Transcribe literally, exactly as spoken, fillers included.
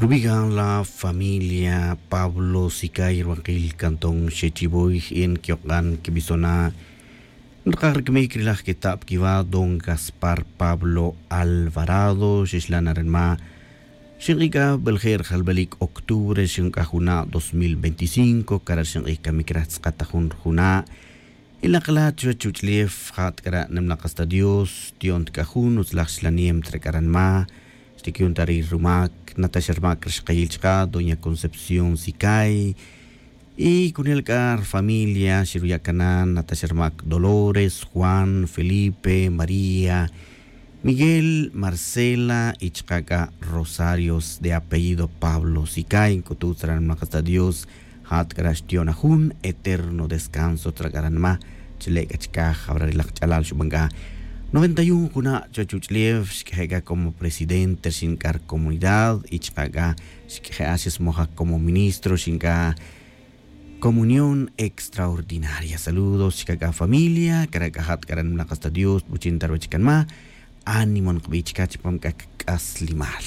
Rubigan la familia pablo sicay ruwankil cantón xechivoy en quiyok'an quibisona'. Nrkaj rcamic rilaj queta'p quiwa don gaspar pablo alvarado xixlan aranma. Xink'ij c'a belje' rjalbelic octubre xink'aj juna' dos mil veinticinco cara' xink'ij camic raj tz'akata jun rjuna'. Ilakala' chuwech chuch'ulef jat k'ara' nimlak hasta dios ti'on tik'a jun utzlaj xlanem tra k'ara' nima. Xtik'yon ta ri rumak natax rumak rixkayil chaka' doña concepción sicay. Y kunel k'a rfamilia xiruya' kanan natax rumak dolores juan felipe maría, miguel marcela y chaka' k'a rosarios de apellido pablo sicay nk'utu' tzra' nimlak hasta dios. Jat k'ara' xti'on ajun eterno descanso tzra' k'ara' nima. Chile' k'a chikaj jabra rilak ch'alal xuban k'a noventa y un juna' chuwech uch'ulef xk'eje' k'a como presidente rxin k'a rcomunidad y chaka' k'a xk'eje' a xismoja como ministro rxin k'a comunión extraordinaria saludos chaka' k'a familia kara' k'a jat k'ara' nimlak hasta dios buchin ta ruwech k'a nima. Ánimo nkbi chikaj chipam k'a k'aslimal.